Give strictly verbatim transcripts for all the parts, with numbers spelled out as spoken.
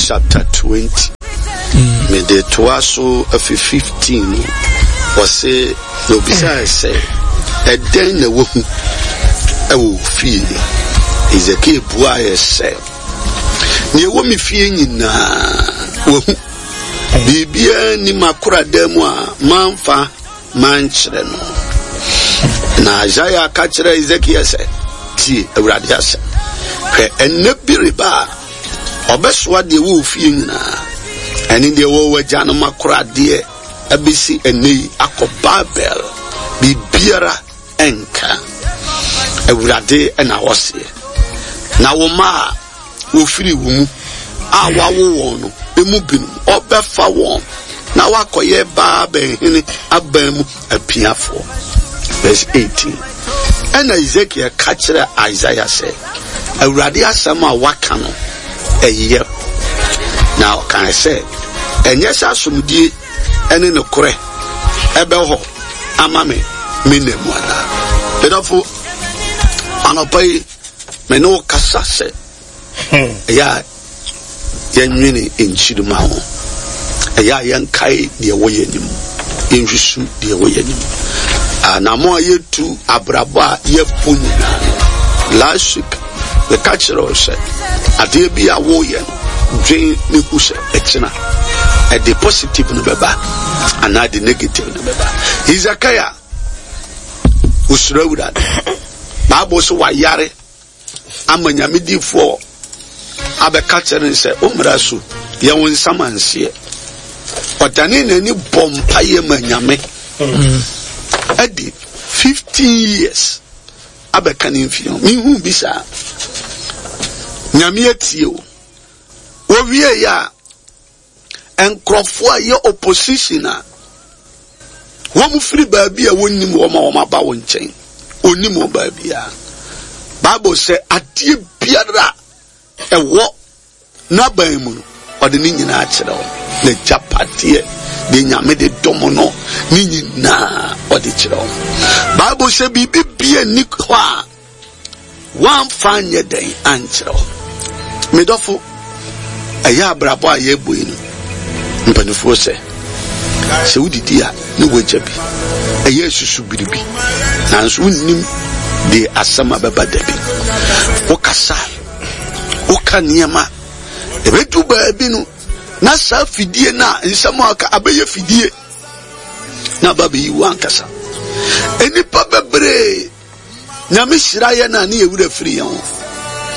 chapter twenty. Mede toa so afi fifteen no, wɔse na obisae sɛ, ɛdɛn na wahu ɛwɔ wo fie? Hesekiel buaeɛ sɛ, nea ɛwɔ me fie nyinaa wahu. Biribiara nni m'akoradan mu a mamfa mankyerɛ no. Na Isaiah ka kyerɛɛ Hesekiel sɛ, tie Awurade asɛm. Hwɛ, ɛnnɛ bi reba a ɔbɛsoa deɛ ɛwɔ wo fie nyinaa, ɛne deɛ ɛwɔ w'agyanom akoradeɛ abɛsi ɛnnɛ yi akɔ Babel. Biribiara ɛnka. Awurade ɛna ɔseɛ. Na wo mma a wɔfiri wo mu a wawo wɔn no emu binom ɔbɛfa wɔn na wakɔyɛ Babel hene aban mu apiafoɔ. Verse eighteen. Ɛna Ezekiel ka kyerɛ Isaiah sɛ, Awurade asɛm a waka no ɛyɛ. Na ɔkae sɛ, ɛnyɛ sɛ asomdie ɛne nokorɛ ɛbɛ hɔ ama me me nna mu anaa? Medɔfo, anɔpa yi me ne wo kasa sɛ ɛyɛ a yɛnwene nkyirima ho, ɛyɛ a yɛnkae deɛ ɛwɔ yɛn anim, yɛnhwehwɛ deɛ ɛwɔ yɛn anim. Anamo a yɛtu abrabɔ a yɛbɔ nyinaa no, last week meka kyerɛ wo sɛ adeɛ bi a woyɛ no, dwen ne hu sɛ ɛkyena ɛde positive no bɛba anaa de negative no bɛba. Hesekiah osuro Awurade. Bible so wayare ama Nyame difoɔ abɛka kyerɛ no sɛ wo mmara so yɛ wo nsamanseɛ. Ɔdane n'ani bɔ mpaeɛ ma Nyame ɛde fifteen years abɛka ne mfie ho. Mehu bi saa. Nyame atie o. Wɔwie yɛ a, nkurɔfoɔ a yɛ opposition a wɔn firi baabi a wɔnnim wɔn a wɔn aba wɔn nkyɛn, onim wɔn baabi a. Bible sɛ adeɛ biara ɛwɔ n'aban mu no, ɔde ne nyinaa kyerɛ wɔn. N'agyapadeɛ deɛ Nyame de dɔm no ne nyinaa ɔde kyerɛ wɔn. Bible sɛ biribi bia nni hɔ a wɔamfa nyɛ dɛn ankyerɛ wɔn. Medɔfo, ɛyɛ abrabɔ a yɛbɔ yi no, mpanimfoɔ sɛ sɛ wodidi a ne wagya bi, ɛyɛ susu biribi, nanso wonnim deɛ asɛm a bɛba da bi. Wokasa, woka nneɛma, ɛbɛdu baabi no na saa fidie no a nsɛm a aka abɛyɛ fidie na aba bɛyi wo ankasa. Nnipa bebree Nyame hyira yɛn a ne yɛwura firi yɛn ho.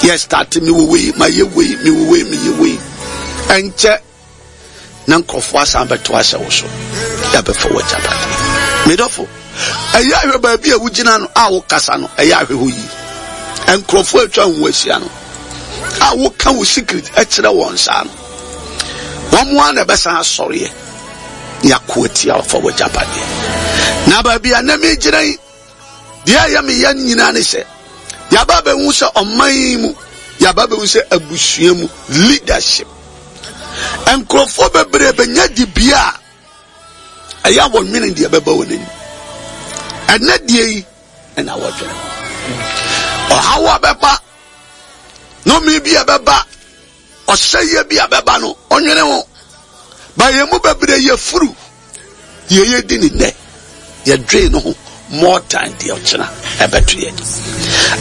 Yɛ start me wɔ wei, ma yɛ wei, me wɔ wei, me yɛ wei. Ɛnkyɛ na nkurɔfoɔ asan bɛto ahyɛ wo so, yɛabɛfa w'agyapadeɛ. Medɔfo, ɛyɛ ahwɛ baabi a wogyina no a wokasa no, ɛyɛ ahwɛ hɔ yie. Nkurɔfoɔ atwa ho ahyia no a woka wo secret kyerɛ wɔn saa no, wɔn ara na ɛbɛsan asɔreɛ yɛako atia wɔfa w'agyapadeɛ. Na baabi a na megyina yi, deɛ ɛyɛ me yɛ nyinaa ne sɛ yɛaba bɛhu sɛ ɔman yi mu, yɛaba bɛhu sɛ abusua mu leadership, nkurɔfoɔ bebree bɛnya dibea a ɛyɛ a wɔnwene deɛ ɛbɛba wɔn anim. Ɛnɛ deɛ yi ɛna wɔdwene ɔhaw a bɛba, nnome bi a bɛba, ɔsɛeɛ bi a bɛba no, ɔnwene ho. Ba yɛn mu bebree yɛ furu deɛ yɛdi ne nnɛ, yɛdwene no ho more than deɛ ɔkyena ɛbɛto yɛ.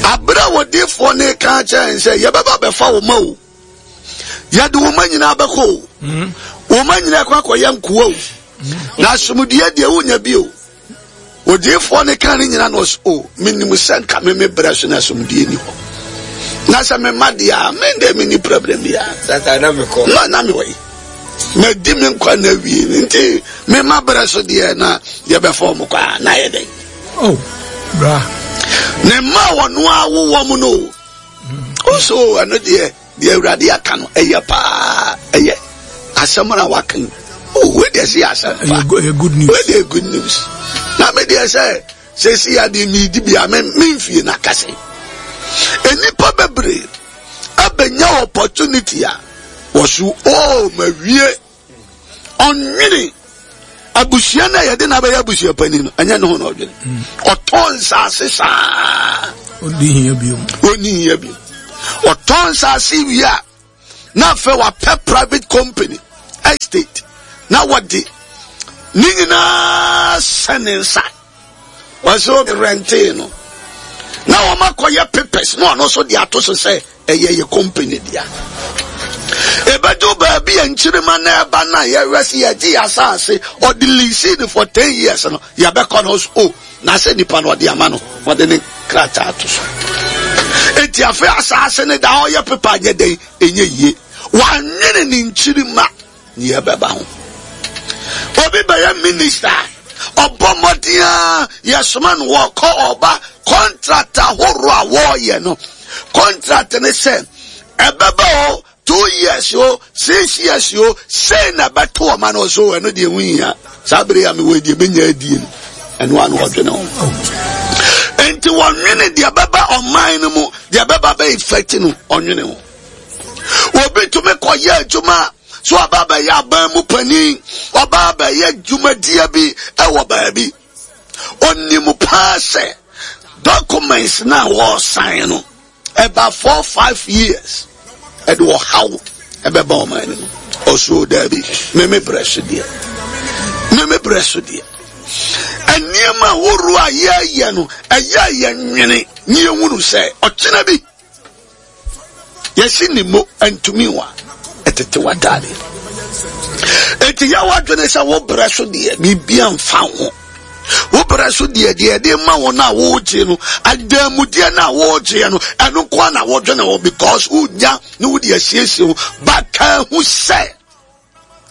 Abere a wɔdiifoɔ ne ka kyerɛ sɛ yɛbɛba bɛfa wo ma o, yɛde wo ma nyinaa bɛkɔ o, wo ma nyinaa kɔ akɔyɛ nkoa o, na asomdue deɛ wonya bi o. Odiifoɔ ne ka ne nyinaa na ɔsɛ o, menim sɛ nka me me brɛ so na asomdue ni hɔ, na sɛ me ma deɛ a me deɛ me ni problem biara. Sata na mekɔ. Na na mewɔ yi, madi me nkwa na awie, nti me ma brɛ so deɛ na yɛbɛfa wɔn kɔ a na yɛ dɛn? Oh, bra. Ne mma a wɔn awo wɔn no o, so ɛno deɛ deɛ Awurade aka no ɛyɛ paa, ɛyɛ asɛm na waka yi. Oh, wei deɛ sɛ yɛ asɛm fa. Ɛyɛ good news. Wei deɛ good news. Na me deɛ sɛ sɛsi adeɛ mi di bia me me nfie na kase. Nnipa bebree abɛnya opportunity a wɔso oh ma wie ɔnwene abusua na yɛde na abɛyɛ abusua panin no, ɛnyɛ ne ho na ɔdwene. Ɔtɔn nsaase saa. Ɔnni hia bio. Ɔnni hia bio. Ɔtɔn nsaase wie a Na afei wapɛ private company estate na wɔde ne nyinaa hyɛ ne nsa. Wɔsɛ rɛntee no na wɔn akɔyɛ papers na ɔno nso de ato so sɛ ɛyɛ yɛ company dea. Ebedu baabi a nkyirima na ɛba na yɛwɛ sɛ yɛgye yɛ asase, ɔde lease no for ten years no, yɛbɛkɔ no so o na sɛ nipa no ɔde ama no, ɔde ne krataa ato so. Eti afei asase no da ɔyɛ pepa nyɛ dɛn, ɛnyɛ yie. Wanwene ne nkyirima ne yɛbɛba ho. Obi bɛyɛ minister, ɔbɔ mmɔden a yɛsoma no wɔkɔ ɔba contract ahorow a wɔreyɛ no, contract ne sɛ ɛbɛba o two years o six years o sei na ɛbɛto ɔma no so. Ɛno deɛ ho hia saa bere a mewɔ deɛ bɛnya adie no, ɛno ano ɔdwene ho. Enti wɔnwene deɛ bɛba ɔman no mu, deɛ bɛba bɛ effect no, ɔnwene ho. Obi tumi kɔyɛ adwuma so, ɔba bɛyɛ aban mu panin, ɔba bɛyɛ dwumadie bi ɛwɔ baabi, onim paa sɛ documents na wɔresan no ɛba four five years ɛde ɔhaw ɛbɛba ɔman no mu. Ɔsoro daabi, meme brɛ so deɛ, meme brɛ so deɛ, nneɛma ahorow a yɛyɛ no, ɛyɛ yɛ nwene ne yɛhunu sɛ ɔkyena bi yɛsi ne mo ntumi wa ɛtete w'ataade. Eti yɛ wadwene sɛ wo brɛ so deɛ, biribi amfa ho. Wo brɛ so deɛ, deɛ ɛde ma wo no a wogye no, adanmudeɛ no a wogyeɛ no, ɛno nko na wodwene ho, because wonya ne wode asiesie ho ba. Ka ho sɛ,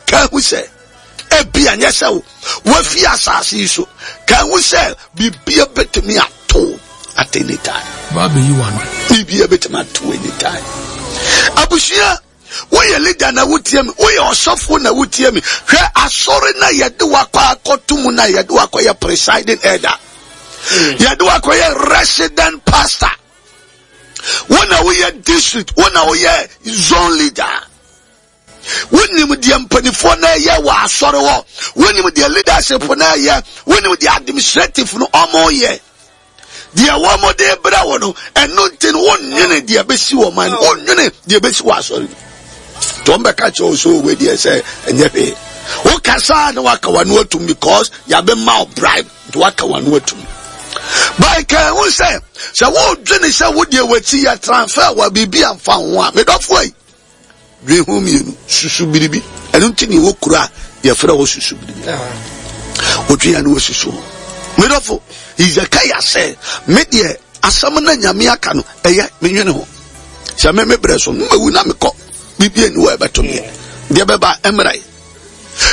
ka ho sɛ ebi anyɛ sɛ wo wafi asase yi so. Ka ho sɛ biribia bɛtumi ato at any time. Ba bɛyi wa no. Biribia bɛtumi ato any time. Abusua, woyɛ leader na wotie mi, woyɛ ɔsɔfo na wotie mi, hwɛ asɔre na yɛde wakɔ akɔto mu na yɛde wakɔyɛ presiding elder, yɛde wakɔyɛ resident pastor, wo na woyɛ district, wo na woyɛ zone leader. Wonim deɛ mpanimfoɔ no ɛyɛ wɔ asɔre hɔ, wonim deɛ leadership no ɛyɛ, wonim deɛ administrative no ɔmo yɛ, deɛ wɔn de brɛ wɔ no. Ɛno nti no, wonnwene deɛ bɛsi wɔ man no, wonnwene deɛ bɛsi wɔ asɔre no. Tí wɔn bɛka kyerɛ wo so wɔ deɛ sɛ ɛnyɛ hwee, wokasa na waka w'ano atum because yɛabɛma wo bribe, nti waka w'ano atum. Baika ɛho sɛ sɛ wodwene sɛ wodeɛ w'akyi yɛ transfer wɔ biribi amfa ho a, medɔfoɔ yi, dwen ho mmienu, susu biribi. Ɛno nti ne ɛwɔ kuro a yɛfrɛ hɔ susu biribi, wotwe ya ne wasusu ho. Medɔfo, Hezekiah sɛ me deɛ, asɛm na Nyame aka no, ɛyɛ menwene ho sɛ me me brɛ so mmawu na mekɔ, biribi ani wɔ ɛbɛto meɛ, deɛ bɛba mmra yi.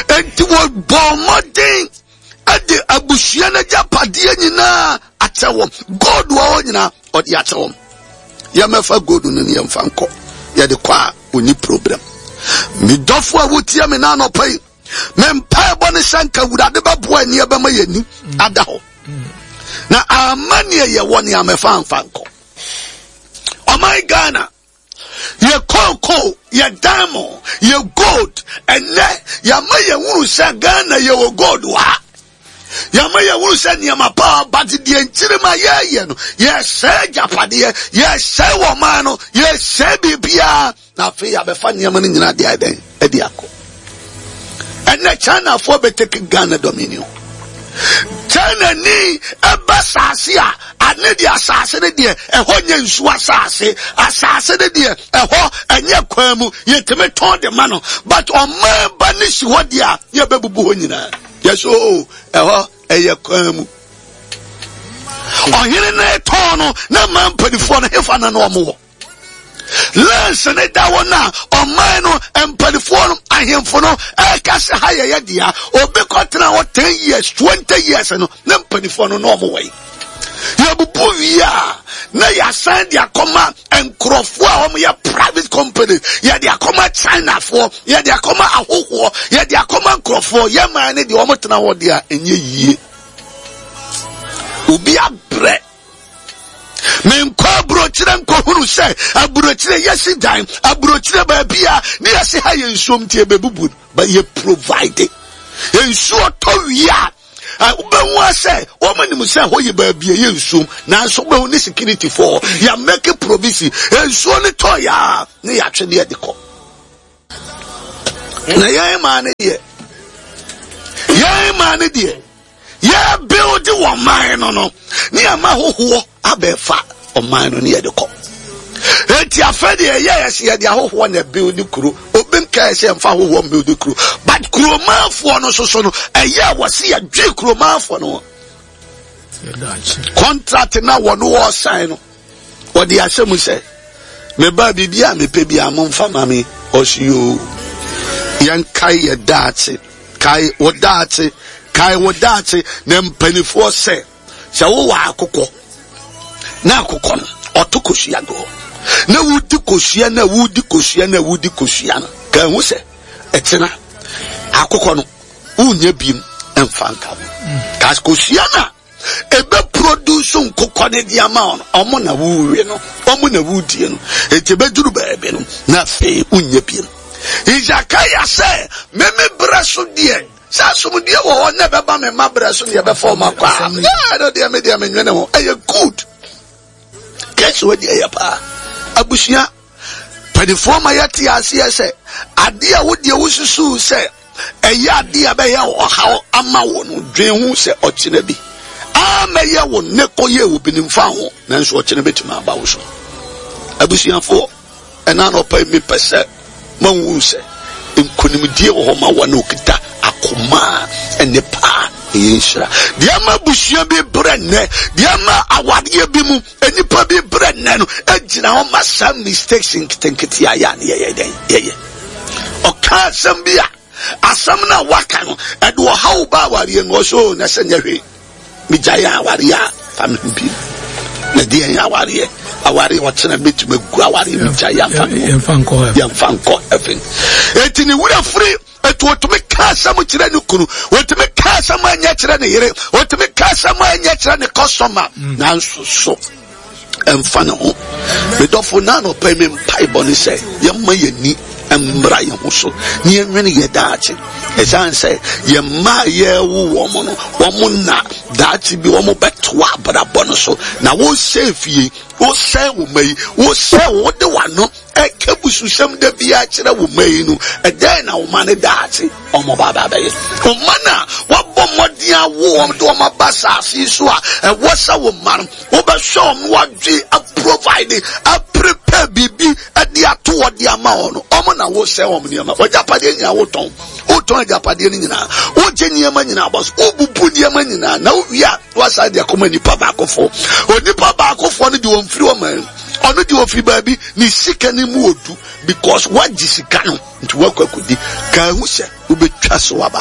Enti wɔbɔ mmɔden ɛde abusua no agyapadeɛ nyinaa akyɛ wɔn. Gold wɔ hɔ nyinaa, ɔde akyɛ wɔn. Yɛmɛfa gold no ne yɛmfa nkɔ, yɛde kɔ a ɔni problem. Medɔfo a wotie me na anɔpa yi, me mpaebɔ ne sɛ nka Awurade bɛboa ani ɛbɛma yɛni ada hɔ na ama neɛ yɛwɔ ne amɛfa amfa nkɔ. Ɔman Ghana, yɛ kooko, yɛ diamond, yɛ gold, ɛnɛ yɛama yɛhunu sɛ Ghana yɛwɔ gold wɔ ha. Yɛama yɛhunu sɛ nneɛma paa, but deɛ nkyirima yɛyɛ no, yɛsɛe agyapadeɛ, yɛsɛe wɔ man no, yɛsɛe biribiara, na afei yɛabɛfa nneɛma no nyinaa de ayɛ dɛn? Ɛde akɔ. Ɛnɛ Chinafoɔ bɛtake Ghana dominion. China ni ɛbɛ saase a ane deɛ, asase no deɛ, ɛhɔ nyɛ nsuo asase, asase no deɛ, ɛhɔ ɛnyɛ kwan mu, yɛtumi tɔn de ma no, but ɔman ba ne si hɔ deɛ a, yɛbɛbubu hɔ nyinaa. Yɛsɛ o ɛhɔ ɛyɛ kwan mu. Ɔhene no tɔn no na ma mpanimfoɔ no hefa na na ɔmo wɔ lands ne da hɔ no a, ɔman no mpanimfoɔ no, ahemfo no ɛka sɛ ha yɛyɛ dea. Obi kɔtena hɔ ten years, twenty years no, ne mpanimfoɔ no na ɔmo wɔ yi, yɛbubu wie a, na yɛasan de akɔma nkurɔfoɔ a wɔyɛ private company, yɛde akɔma Chinafoɔ, yɛde akɔma ahohoɔ, yɛde akɔma nkurɔfoɔ. Yɛ man ne deɛ wɔn tena hɔ deɛ a, ɛnyɛ yie. Obi abrɛ. Menkɔ aburokyerɛ nkɔhunu sɛ aburokyerɛ yɛsi dan, aburokyerɛ baabi a ne yɛsi ha yɛ nsuom nti ɛbɛbubu no, but yɛ provide nsuo tɔ wie a, wobɛhu sɛ wɔn anim sɛ hɔ yɛ baabi a ɛyɛ nsuom, nanso wobɛhu ne security foɔ yɛ make provision. Nsuo no tɔ yɛ a, ne yɛatwe ne yɛde kɔ. Na yɛn maa ne deɛ, yɛn maa ne deɛ, yɛ build wɔ man no no, ne yɛn ma ahohoɔ abɛfa ɔman no ne yɛde kɔ. Eti afɛ deɛ yɛ yɛ sɛ yɛde ahohoɔ na build kuro. Obi nka yɛ sɛ yɛmfa ahohoɔ build kuro, but kuromanfoɔ no soso no ɛyɛ wɔ se yɛdwe kuromanfoɔ no. Contract na wɔn wɔ sign no, wɔde ahyɛ mu sɛ meba biribi a mepɛ bi a momfa ma me. Ɔsi yoo, yɛnkae yɛ daakye, kae wo daakye, kae wo daakye. Na mpanimfoɔ sɛ sɛ wowɔ akokɔ na akokɔ no ɔto kosua go na wodi kosua na wodi kosua na wodi kosua no, ka ehu sɛ ɛkyena akokɔ no wonyɛ biem ɛmfa nka ho. Ka kosua na ebe produce nkokɔ ne di ama ɔno, ɔmo na wuwe no, ɔmo na wudie no, eti ebeduru baabi no na afei wonyɛ biem. Isakaya sɛ meme brɛ so deɛ sɛ asomdue wɔ hɔ na ɛbɛba me mma brɛ so ne yɛbɛfa ɔmo akɔ a, ɛno deɛ me deɛ menwene ho. Ɛyɛ good kɛse wɔ deɛ ɛyɛ paa. Abusua panifoɔ ma yɛte aseɛ sɛ adeɛ a wodeɛ wosusu sɛ ɛyɛ adeɛ a bɛyɛ ɔhaw ama wo no, dwen ho sɛ ɔkyena bi amɛyɛ wo ne kɔyɛ wo bi ne mfa ho, nanso ɔkyena bɛtumi aba wo so. Abusuafoɔ, ɛna anɔpa yi mepɛ sɛ mahu sɛ nkonimdie wɔ hɔ ma wɔn a okita akoma a ɛne paa ɛyɛ nhyira. Deɛ ama abusua bi brɛ nnɛ, deɛ ama awadeɛ bi mu nnipa bi brɛ nnɛ no, egyina hɔ ma saa mistakes nketenkete a yɛ a ne yɛyɛ dɛn yɛyɛ. Ɔka asɛm bi a asɛm no a waka no ɛde ɔhaw ba awareɛ no, ɔsɛ o na sɛ nyɛ hwee megya yɛ awareɛ a fa me ho bi na deɛ yɛ awareɛ awareɛ ɔkyena mɛtumi agu awareɛ megya yɛ afa me ho yɛmfa nkɔ heaven. Eti ne wura firi etu otumi ka asɛm kyerɛ ne kunu, otumi ka asɛm anyɛ kyerɛ ne yere, otumi ka asɛm anyɛ kyerɛ ne customer, nanso so ɛmfa ne ho. Medɔfo, na anɔpa yi me mpaebɔ ne sɛ yɛmma yɛni mmra yɛn ho so na yɛnwene yɛ daakye. Ɛsiane sɛ yɛn mma a yɛrewo wɔn no, wɔn na daakye bi wɔn bɛtoa abrabɔ no so. Na wosɛe fie, wosɛe wo mma yi, wosɛe wo de w'ano ɛka bususɛm da biara kyerɛ wo mma yi no, ɛdɛn na wo mma no daakye wɔn ba ba bɛyɛ? Wo mma no a wɔabɔ mmɔden awo wɔn de wɔn aba saase yi so a, ɛwɔ sɛ wo mma no wobɛhwɛ wɔn wadwe aprovide aprepare biribi de ato hɔ de ama wɔn no, wɔn na wosɛe wɔn nneɛma. W'agyapadeɛ nyinaa wotɔn, wotɔn agyapadeɛ no nyinaa, wogye nneɛma nyinaa bɔ so, wobubu nneɛma nyinaa, na wowie a wasan de akɔma nipa baakofoɔ. Onipa baakofoɔ no de wɔn firi wɔn man, ɔno de ofiri baabi, ne sika no mu odu because wagye sika no nti wakɔ akɔdi. Ka ehu sɛ wobɛtwa so aba,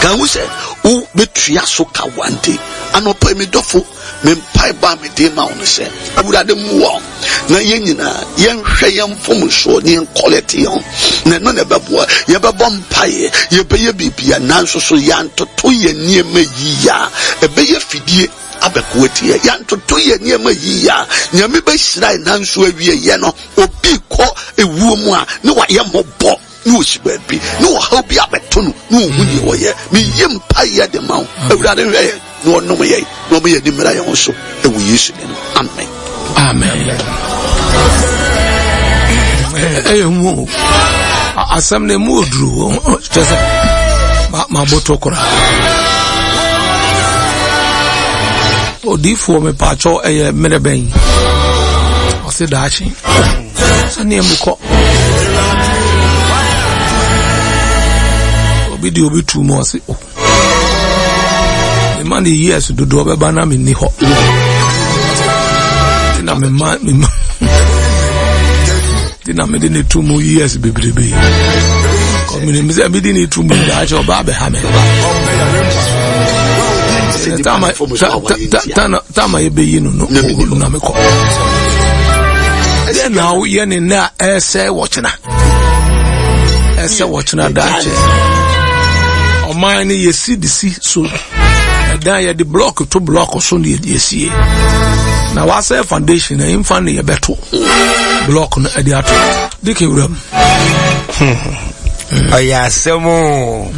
ka ehu sɛ wobɛtua so ka one day. Anɔpa mi dɔfo, me mpaebɔ a mede ma wo no sɛ Awurade mmoa wo na yɛn nyinaa yɛnhwɛ yɛn mfomsoɔ ne yɛn kɔlɛte yɛn ho, na ɛno na ɛbɛboa. Yɛbɛbɔ mpaeɛ, yɛbɛyɛ biribia, nanso so yɛantoto yɛn nneɛma yie a, ɛbɛyɛ fidie abɛko atia. Yɛantoto yɛn nneɛma yie a, Nyame bɛhyira yɛn, nanso awieeɛ no obi kɔ ewuo mu a ne wayɛ mmɔbɔ ne osi baabi ne ɔhaw bi abɛto no ne ohu deɛ wɔyɛ. Meyi mpaeɛ de ma wo, Awurade hwɛ yɛn na ɔnom yɛn na ɔmo yɛn nimra yɛn ho so ɛwɔ Yesu din mu, amen. Amen. Ɛyɛ hu o, asɛm no emu oduru kyɛ sɛ maboto koraa. Odiifoɔ, mepaakyɛw, ɛyɛ mmerɛ bɛn? Ɔse daakye sɛneɛ mekɔ obi de obi tu mu, ɔse o mema ne years dodoɔ bɛba na menni hɔ nti na mema mema nti na mede ne tu mu years bebrebe kɔminim sɛ mede ne tu mu daakye ɔba abɛha me. Tama yɛbɛyi no no na mekɔ deɛ na woyɛ ne nnɛ a ɛsɛ wɔkyena, ɛsɛ wɔkyena daakye. Ɔman no yɛsi de si so ɛdan, yɛde block to block so ne yɛsie na wasɛ foundation na yɛmfa ne yɛbɛto block no ɛde ato de kewura mu. Ɔyɛ asɛm o.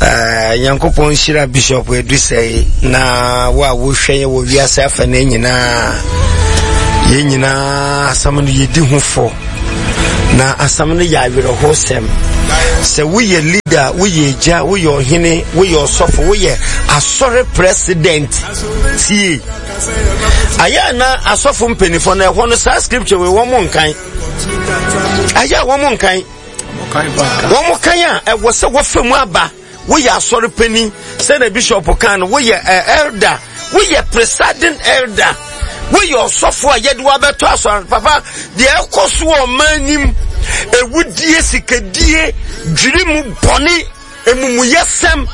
Nyankopɔn nhyira Bishop Edusɛe na wo a wohwɛ yɛ wɔ wiase afa no nyinaa. Yɛn nyinaa asɛm no yɛdi ho fɔ, na asɛm no yɛ awerɛhosɛm. Sɛ woyɛ leader, woyɛ agya, woyɛ ɔhene, woyɛ ɔsɔfo, woyɛ asɔre president, tie. Ayɛ na asɔfo mpanimfoɔ no ɛhɔ no saa scripture wei wɔn nkan. Ayɛ a wɔn nkan. Wɔn kan a ɛwɔ sɛ wɔfa mu aba. Woyɛ asɔre panyin, sɛdeɛ bishop kan no, woyɛ elder, woyɛ presiding elder, woyɛ ɔsɔfo a yɛde wabɛtɔ asɔre. Papa, deɛ ɛkɔ so wɔ ɔman nim, ewudie, sikadie, dwiri mu bɔne, emumuyɛsɛm,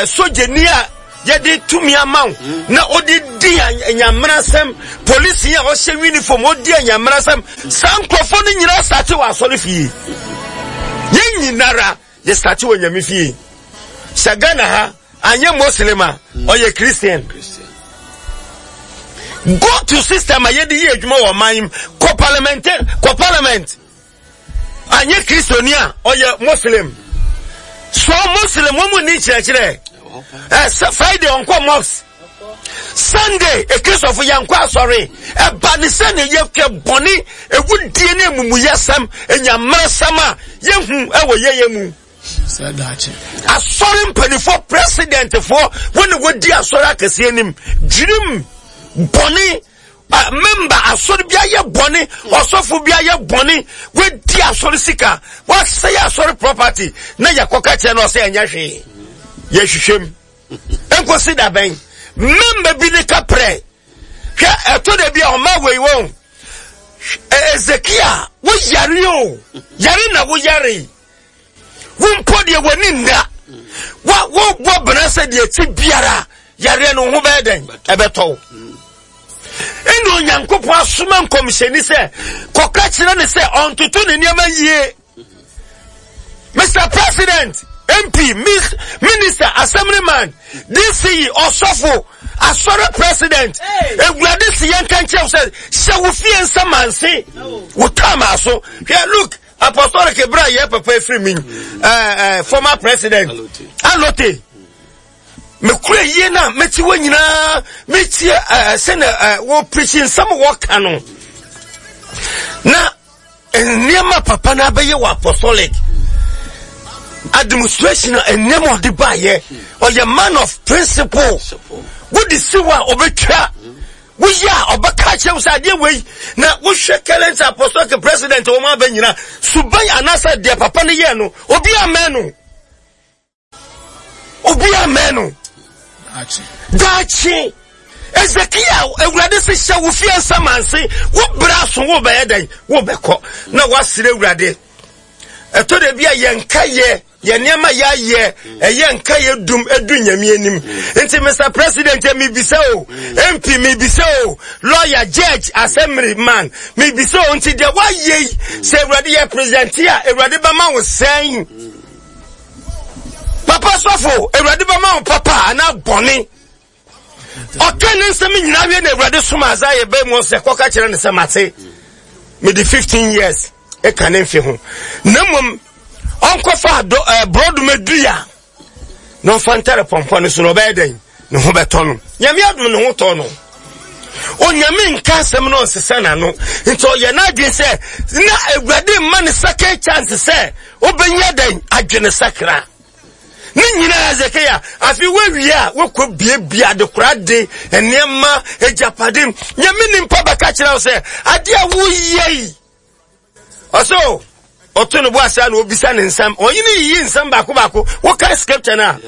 sogyani a yɛde tumi ama wo na ɔde di anyammerasɛm, polisi a ɔhyɛ uniform ɔdi anyammerasɛm, saa nkurɔfoɔ no nyinaa sate wɔ asɔre fie. Yɛn nyinara yɛ sate wɔ Nyame fie. Sɛ Ghana ha anyɛ Muslim a ɔyɛ Christian. Go to system a yɛde yɛ adwuma wɔ ɔman mu, kɔ parliament, kɔ parliament. Anyɛ Kristoni a ɔyɛ Muslim. So Muslim wɔn mu ni nkyerɛkyerɛ. Ɛ Friday ɔnkɔ mosque. Sunday ekristofo yɛn nkɔ asɔre. Ɛba ne sɛ ne yɛhwɛ bɔne, ewudie ne emumuyɛsɛm, enyammerɛsɛm a yɛhu ɛwɔ yɛyɛ mu. Asɔre mpanimfoɔ, presidentfoɔ, wɔn na wɔdi asɔre akɛseɛ anim. Dwirim bɔne, member asɔre bi ayɛ bɔne, ɔsɔfo bi ayɛ bɔne, wɔadi asɔre sika, wɔasɛe asɔre property, na yɛkɔka kyerɛ no ɔsɛ ɛnyɛ hwee. Yɛhwehwɛ mu. Nkosi da bɛn? Member bi ne kaprɛ. Hwɛ ɛto da bi a ɔma wei wɔn. Ezekiel, wo yare o, yare na wo yare. Wo mpo deɛ w'ani nna. Wa wo bɔ bena sɛ deɛ ti biara yareɛ no ho bɛyɛ dɛn? Ɛbɛtɔ wo. Ɛna Onyankopɔn asoma nkɔmhyɛni sɛ kɔka kyerɛ ne sɛ ɔntoto ne nneɛma yie. Mister President, M P, Minister, Assemblyman, D C E, Osofo, Asɔre President, Ewurade si yɛn ka nkyɛn sɛ hyɛ wo fie nsamanse, wo tam aso. Hwɛ, look, Apostolic ebra yɛ papa efiri mi, eh, eh, former president, Alote. Mekura yie na meti wɔ nyinaa, metie eh, sɛ na eh, wɔ preach nsɛm wɔka no. Na nneɛma papa na abɛyɛ wɔ apostolic administration a nneɛma ɔde baayɛ, ɔyɛ man of principle. Wode si hɔ a ɔbɛtwa, woyɛ a ɔbɛka kyerɛ wo sɛ adeɛ wei na wohwɛ current apostolic president wɔn aba nyinaa suban anaasɛ deɛ papa no yɛ no, obi amɛn no, obi amɛn no. Daakye Ezekiel, Awurade se hyɛ wo fie nsamanse, wo bra so wo bɛyɛ dɛn, wo bɛkɔ na wasrɛ Awurade. Ɛtɔ da bi a yɛn nka yɛ yɛn nneɛma yɛayɛ ɛyɛ nka yɛ dum edu Nyame anim. Nti Mister President, mibisa o, M P mibisa o, lawyer, judge, assembly man mibisa o, nti deɛ wayɛ yi sɛ Awurade yɛ president a, Awurade bɛma wo sɛn? Papa sɔfo, Awurade bɛma wo papa anaa bɔne? Ɔka ne nsɛm nyinaa wie na Awurade soma Isaiah bɛn mu sɛ kɔka kyerɛ ne sɛ mate mede fifteen years ɛka ne mfe ho, na mmom ɔnkɔfa borɔdoma dua na ɔmfa ntare pɔmpɔ no so na ɔbɛyɛ dɛn? Ne ho bɛtɔ no. Nyame adom ne ho tɔ no. Onyame nka asɛm no ɔnsesa n'ano, nti ɔyɛ n'adwene sɛ na Awurade mma ne second chance sɛ ɔbɛnya dɛn? Adwene sakra. Ne nyinaa Hesekia, afi wawie a wokɔ biebie adekora de nneɛma agyapade. Nyame nimpa bɛka kyerɛ wo sɛ ade a woyɛ yi, ɔso ɔto ne bo ase a na obisa ne nsɛm, ɔyene yiyi nsɛm baako baako. Woka scripture no a,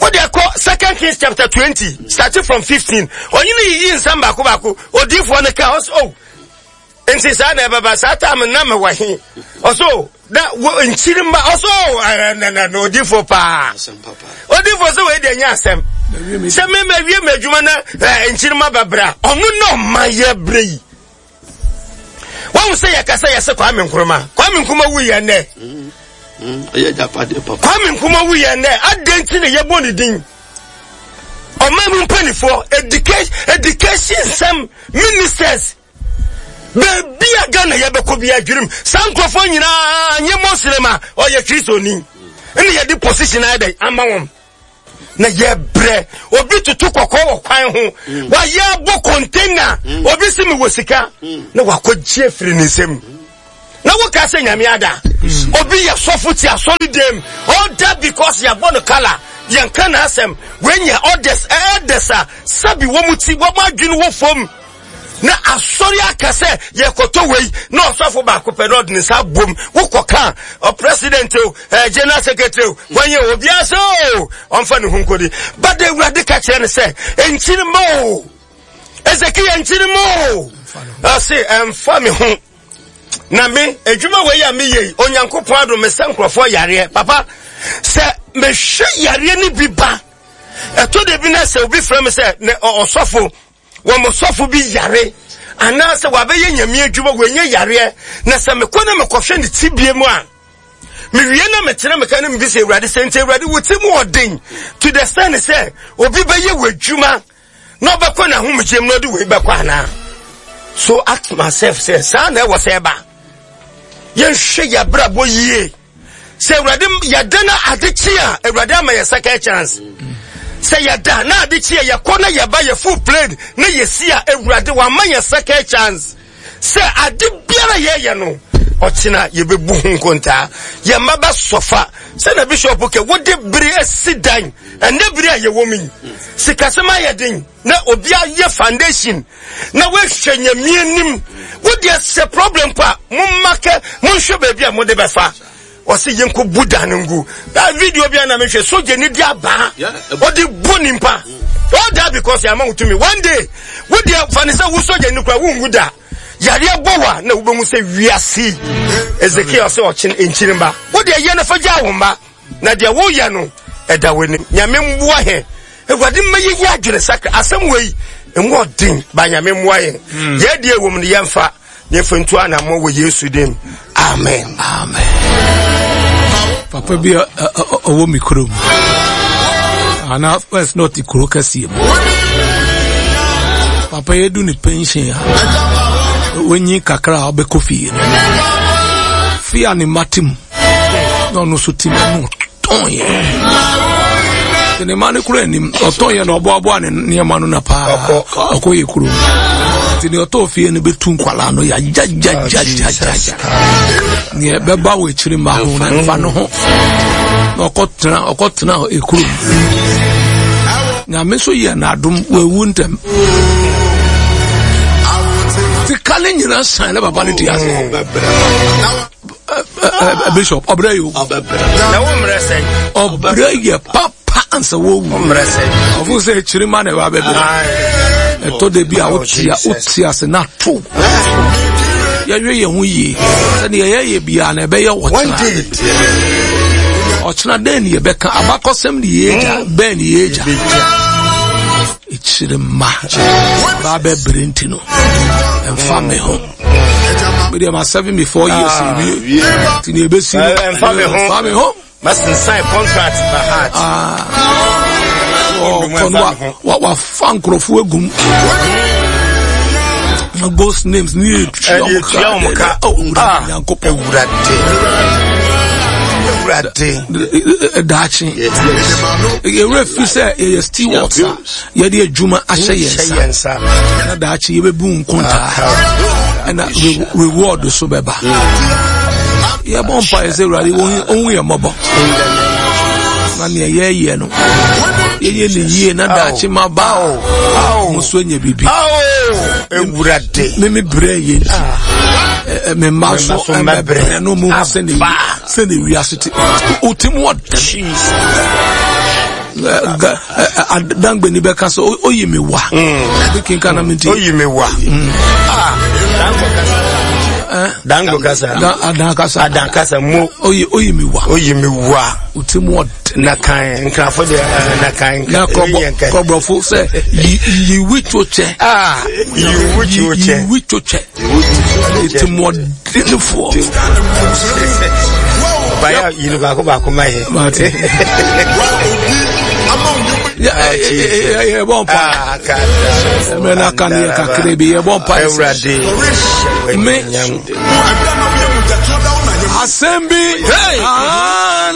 wode kɔ Second Kings chapter twenty starting from fifteen. Ɔyene yiyi nsɛm baako baako. Odiifoɔ no ka ɔso, oh, nti saa na ɛbɛba saa time na mewɔ he? Ɔso na wo nkyiri mma ɔso na na na odiifoɔ paa. Odiifoɔ sɛ wei deɛ nyɛ asɛm sɛ mema wie m'adwuma na nkyiri mma bɛbra. Ɔno na ɔma yɛ berɛ yi. Wɔn sɛ yɛkasa yɛsɛ Kwame Nkrumah. Kwame Nkrumah wu yɛ nnɛ. Kwame Nkrumah wu yɛ nnɛ. Adɛn nti na yɛbɔ ne din? Ɔman mu mpanimfoɔ, education, education nsɛm ministers, baabi a Ghana yɛbɛkɔ bi adwirim. Saa nkurɔfoɔ nyinaa nye Muslim a ɔyɛ Kristoni. Ɛna yɛde position ayɛ dɛn ama wɔn. Na yɛbrɛ obi toto kɔkɔɔ wɔ kwan ho, wayɛ abɔ container, obi si mi wɔ sika na wakɔgye afiri ne nsam. Na woka sɛ Nyame ada. Obi yɛ sɔfo ti asɔre dɛm. All that because yɛabɔ no kala. Yɛnka n'asɛm. Wenya orders, elders a sɛbi wɔn ti wɔn adwene wɔ fam. Na asɔre aka sɛ yɛkɔtɔ wei na ɔsɔfo baako pɛ na ɔde ne nsa abom wokɔ ka ɔ president o eh, general secretary o wɔnyɛ obiara sɛ o ɔmfa ne ho nkɔdi. But Awurade ka kyerɛ no sɛ nkyiri ma o Ezekiel nkyiri ma o ɔse ɛmfa me ho na me adwuma wei a meyɛ yi Onyankopɔn adom me sɛ nkurɔfoɔ yareɛ papa sɛ mehwɛ yareɛ no bi ba ɛtɔ da bi na sɛ obi frɛ me sɛ ne ɔsɔfo wɔn sɔfo bi yare anaasɛ wabɛyɛ nyame adwuma wɔnyɛ yareɛ na sɛ mekɔ na mekɔhwɛ ne tibie mu a mewie na mekyerɛ meka no mebisa Awurade sɛ nti Awurade wo ti mu ɔden to the extent sɛ obi bɛyɛ w'adwuma na ɔbɛkɔ n'ahomegyem na ɔde wei bɛkɔ anaa. So ask myself sɛ saa na ɛwɔ sɛ ɛba. Yɛnhwɛ yɛ abrabɔ yie sɛ Awurade yɛda na ade kye a Awurade ama yɛ second chance. Sɛ yɛda na ade kye a yɛkɔ na yɛba yɛ full plane na yɛsi a Awurade wama yɛ second chance. Sɛ ade biara yɛyɛ no ɔkyena yɛbɛbu ho nkontaa. Yɛn mma bɛsɔfa sɛ na bishop kɛ wode bere asi dan ɛnɛ bere a yɛwɔ mu yi sikasɛm ayɛ den na obi ayɛ foundation na woahwɛ nyame anim wode sɛ problem pa momma kɛ monhwɛ baabi a mode bɛfa ɔsɛ yɛnkɔ bu dan no ngu. That video bi a na mehwɛ sogya ni di abaa ɔde bu nimpa. All that because yɛama wo tumi. One day wodeɛ fa ne sɛ wo sogya ni kora wonwu da yareɛ bɔ wa na wobɛhu sɛ wiase Ezekiel sɛ ɔkye nkyiri mba wodeɛ yɛ no fa gyaa wo mma na deɛ woyɛ no ɛda w'anim. Nyame mmoa hɛ Awurade mma yɛyi adwene sakra asɛm wei ɛmu ɔden ba Nyame mmoa yɛn. Yɛdeɛ wɔ mu no yɛmfa yɛmfa ntu anammɔ wɔ Yesu dim. Amen. Amen. Papa bi ɔwɔ mi kurom ana first na ɔte kuro kɛseɛ mu. Papa yɛ du ne pension a wɔnyi kakra a ɔbɛkɔ fie no fie a ne mma te mu na ɔno nso te mu no ɔtɔn yɛ ne mma no kura anim ɔtɔn yɛ na ɔboaboa ne nneɛma no na paa ɔkɔ yɛ kurom nti ne ɔtɔ fie no bɛtu nkwalaa no yagyagyagyagyagya neɛ bɛba wɔ akyiri mma ho na mfa no ho na ɔkɔtena ɔkɔtena ekurom Nyame nso yɛ n'adom wawu ntɛm sika ne nyinaa san ne papa ne ti ase. Bishop ɔbrɛ yi o ɔbrɛ yɛ papa ansa wɔwu ɔfo sɛ akyiri ma na ɛba bɛbrɛ ɛtɔ da bi a wotia wotia ase na to yɛhwɛ yɛn ho yie sɛdeɛ yɛyɛ biara na ɛbɛyɛ ɔkyena ɔkyena dɛn ne yɛbɛka abakɔsɛm ne yɛgya bɛn ne yɛgya akyiri ma ba bɛbrɛ nti no ɛmfa me ho. Medeɛ ma seventy four years wie nti ne ɛbɛsi no ɛmfa me ho. Ɛmfa me ho. Masensan contract by heart. Ɔkɔ no wa wafa nkurɔfoɔ agum na ghost names ne yɛtua Ɛde wɔn ka. Owura Nyankopɔn Awurade. Awurade. Daakye yɛwerɛ fi sɛ yɛyɛ stewards a yɛde adwuma ahyɛ yɛn nsa na daakye yɛbɛbu nkontaa ɛna reward so bɛba. Yɛbɔ mpa yɛ sɛ Awurade ɔhu yɛ mmɔbɔ na nea yɛyɛ no yɛyɛ ne yie na daakye ma ba mo so anya biribi. Awurade. Me me brɛ yɛ nti me mma so ɛmɛbrɛ no mu sɛne sɛne wiase te wotim wɔ dangbani bɛka sɛ oyi me wa bi kenka na menti oyi me wa. Dango kasa. Adan kasa. Adan kasa mo. Oyi oyi mi wa. Oyi mi wa. Wotim wɔ Na kan nkrafo de na kan. Na kɔbrɔfo sɛ yiwi to kyɛ. Ah, yiwi to kyɛ. Yiwi to kyɛ. Wotim wɔ dinifoɔ. Baya yiri baako baako ma yɛ. Mate. Yɛbɔ mpa. Mmerɛ no aka no yɛ kakra bi yɛbɔ mpa. Awurade. Me asɛm bi.